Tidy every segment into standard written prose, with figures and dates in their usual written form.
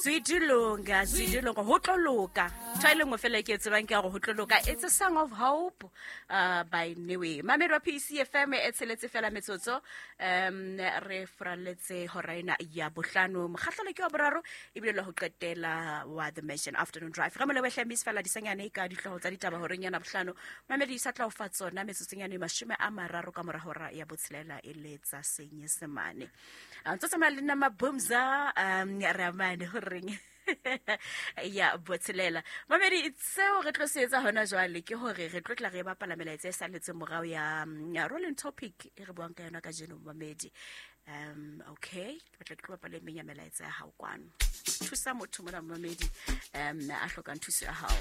Zwidilunga, zwidilunga, ho tlo loka. Ntho e le nngwe fela e ke e tsebang ke ya gore ho tlo loka. It's a song of hope by Newe. Mamedi wa PCFM e tsheletse fela metsotso re furaletse hora ena ya bohlano. Mokgahlelo ke wa boraro ebile la ho qetela wa The Mansion Afternoon Drive. Re molebohle Miss fela disanyane ka dihlooho tsa ditaba horeng yana bohlano. Mamedi sa tla o fa tsona metsotsong yana e 30 ka mora hora ya botshelela e le tsa Senyesemane. A ntse tsamaya le nna Mabumza re amane horeng ya botshelela. Mamedi, seo re tlo se etsa hona jwale ke hore re tlo tla re bapala melaetsa e saletseng morao ya rolling topic e re buang ka yona kajeno mamedi. Okay, ke batla ke tlo bapala e meng ya melaetsa ya hao kwano. Thusa motho mona mamedi a hlokang thuso ya hao.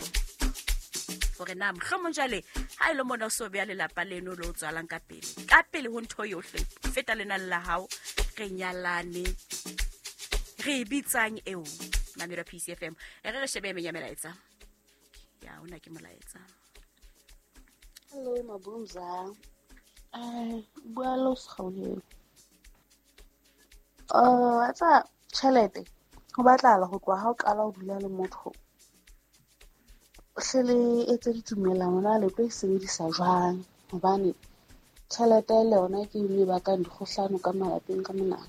Hore na mohlomong jwale ha e le mona o so beya lelapa leno le o tswalang ka pele. Ka pele ho ntho yohle feta lenane la hao re nyalane re e bitsang eo mamelo PCFM e re re shebe e meng ya melaetsa ya ona ke molaetsa. Hello Mabumza, bua le o Sekgaoleng. Wa tseba tjhelete ho batlahala ho tloha ha o qala ho dula le motho, o hle le etse ditumellano na le tlo e sebedisa jwang, hobane tjhelete le yona ke e bakang dikgohlano ka malapeng ka mona.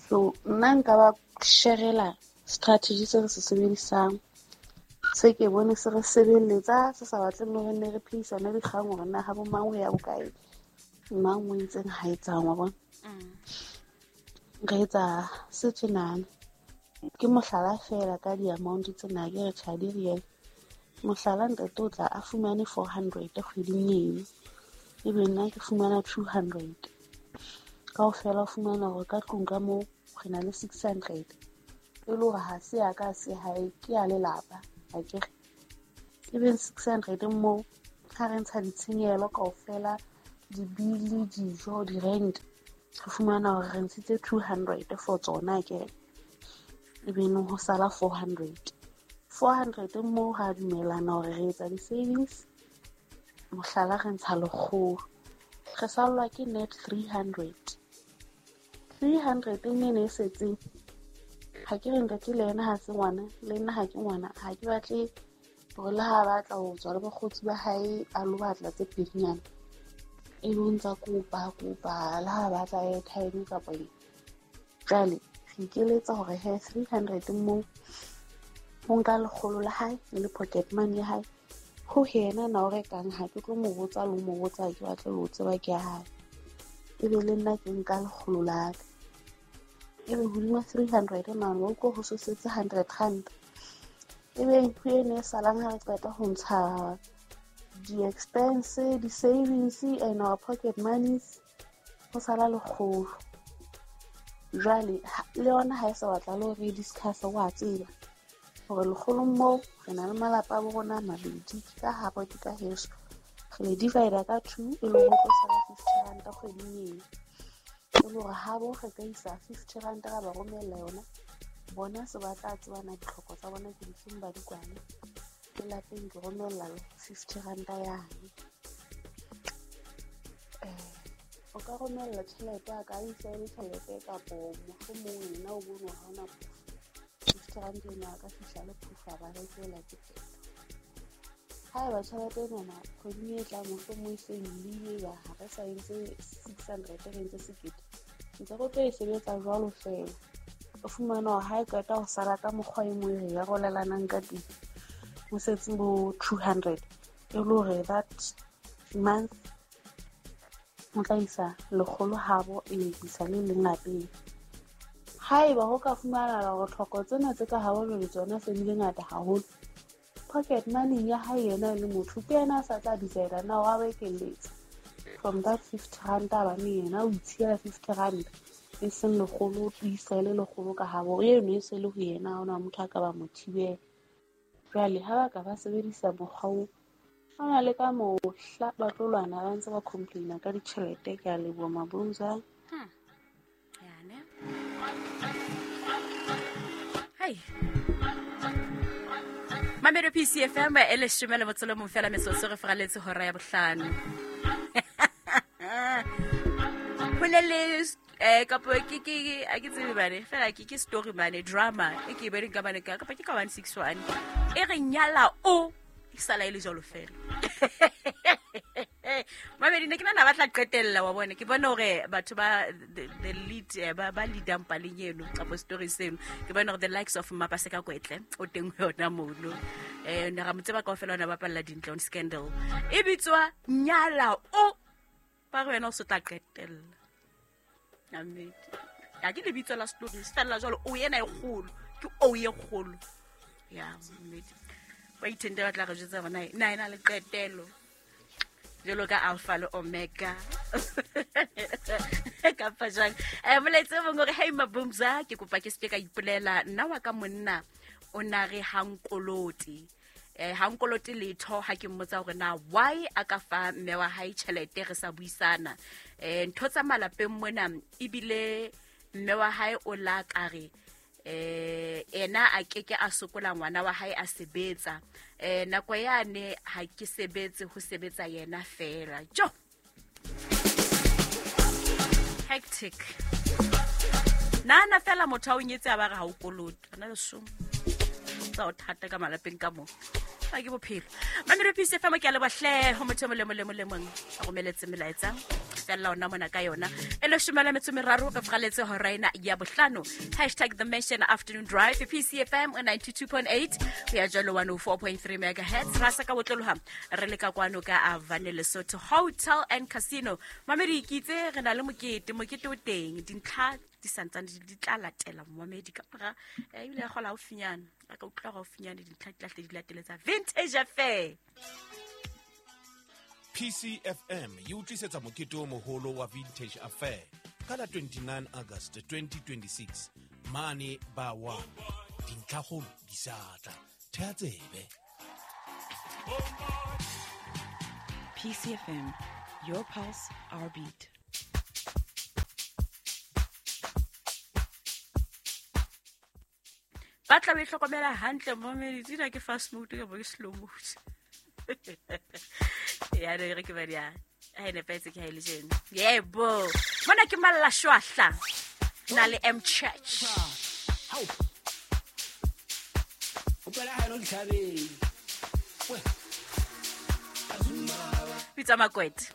So nna nka ba sharela strategy se re se sebedisang, se ke bone se re sebeletsa, se sa batleng le hore ne re phehisane dikgang hore na ha bo mang ho ya bokae, mang o entseng ha etsang, wa bona. Re etsa se tjenana, ke mohlala fela ka di-amount tsena, ke re tjha di real. Mohlala ntate o tla a fumane 400 kgweding eno, ebe nna ke fumana 200. Kaofela o fumana hore ka tlung ka moo re na le 600. E le hore ha se ya ka se hae, ke ya lelapa, akere. Ebe 600 moo ha re ntsha ditshenyehelo kaofela, dibili, dijo, di-rent, re fumana hore re ntshitse 200 for tsona, akere. Ebe no ho sala 400. 400 moo ra dumellana hore re etsa di-savings, mohlala re ntsha lekgolo, re sallwa ke net 300. 300 ene e setseng, ha ke re ntate le yena ha se ngwana, le nna ha ke ngwana, ha ke batle hore le ha batla ho tswa le bakgotsi ba hae a lo batla tse pedinyana, e be o ntsa kopa, kopa, le ha batla airtime kapa eng. Jwale re ikeletsa hore he 300 moo o nka lekgolo la hae le pocket money ya hae, ho yena na o rekang, ha ke tlo mo botsa le ho mo botsa, ha ke batle le ho tseba ke ya hae. Ebe le nna ke nka lekgolo la ka, ebe hodima 300 mane wa utlwa ho so setse 100 rand. Ebe ntho eno e salang ha re qeta ho ntsha di-expense, di-savings and our pocket monies, ho sala lekgolo. Jwale le yona ha e sa batla le hore re discuss, wa tseba hore lekgolong moo re na le malapa a bo rona a mabedi, ke ka habo, ke ka heso, re le divide ka 2, e le hore ho tlo sala 50 rand kgweding eno. E le hore habo re ka isa 50 rand ra ba romella yona, bona se ba tla tseba na ditlhoko tsa bona ke difeng, ba di kwane. Le lapeng ke romella 50 rand yane. O ka romella tjhelete, a ka isa e le tjhelete kapo mohlomong yena o bone ha hona phofo. 50 rand eno a ka fihla le phofo a ba rekela ke qeto. Haeba tjhelete enana kgweding e tlang mohlomong e se nyolohile, ba ha re sa entse 600 re entse sekete, ntse re tlo e sebetsa jwalo fela. O fumana hore ha e qeta ho sala ka mokgwa e mong re arolelanang ka teng, ho setse bo 200, e le hore that month o tla isa lekgolo habo, e isa le leng lapeng. Haeba ho ka fumanahala hore tlhoko tsena tse ka habo jwale tsona se di le ngata haholo, pocket money ya hae yena e le motho, ke yena a sa tla decide na wa ba ekelletsa from that 50 rand, hobane yena o itshiela 50 rand e seng lekgolo, o isa e le lekgolo ka habo, eno e se le ho yena, ha hona motho a ka ba mo thibela. Jwale ha ba ka ba sebedisa mokgwa oo, ha ona le ka mohla ba tlo lwana ba ntse ba complaina ka ditjhelete. Ke a leboha Mabumza. Yane. Hai. Mamedo PCFM e leshome le motso le mong fela metsotso re feraletse hora ya bohlano. Ho ne le Kapo ke a ke tsebe bane fela ke story mane drama e ke e boneng ka mane kapa ke ka 161 e re nyala o e sala e le jwalo fela. Mamedi ne ke nana ba tla qetella wa bone ke bone hore batho ba the lead ba leadang paleng eno kapa story seno ke bone hore the likes of Mapaseka Kwetle o teng ho yona mono ne ra mo tseba kaofela ona bapalla Dintle on Scandal e bitswa Nyala o ba re wena o se tla qetella. Amen. Ya ke lebitso la story se fella jwalo o ena e kgolo ke o ye kgolo ya mmedi ba ithente ba tla re jwetsa bona na ena le qetelo jwalo ka alpha le omega kapa jwang. Molaetsa o mongwe hore hey Mabumza ke kopa ke seke ka ipolela nna wa ka monna o na re ha nkolote ha nkolote letho ha ke mmotsa hore na why a ka fa mme wa hae tjhelete re sa buisana ntho tsa malapeng mona ebile mme wa hae o la ka re ena a keke a sokola ngwana wa hae a sebetsa nako yane ha ke sebetse ho sebetsa yena fela jo hectic nana fela motho a o nyetse a ba re ha o kolote ana le somo tsa o thata ka malapeng ka mo a ke bophelo. Mamedi Peace FM ke a leboha ho motho e mong le mong a romeletse melaetsa fella ona mona ka yona e leshome le metso meraro re fraletse hora ena ya bohlano. Hashtag The Mention Afternoon Drive PCFM 92.8 ho ya jwalo 104.3 megahertz ra sa ka botloloha re le ka kwano ka Avane Lesotho Hotel and Casino. Mamedi ke itse re na le mokete o teng dintlha di santsane di tla latela momedi ka mora ebile ya kgola haufinyana a ka utlwa haufinyana dintlha di tla hle di lateletsa Vintage Affair. PCFM e utlisetsa mokete o moholo wa Vintage Affair ka la 29 August 2026 mane ba wa dintlhakgolo di sa tla thea tsebe. PCFM, your pulse, our beat. Ba tla be hlokomela hantle momedi tsena ke fast mode ka bo ke slow mode. Ya re ke ba dia ha ene petse ke ha ile jeno. Yebo. Mona ke malla shwahla. Na le M Church. Hao. O pela ha no ditlhabeng. Pitsa Makwete.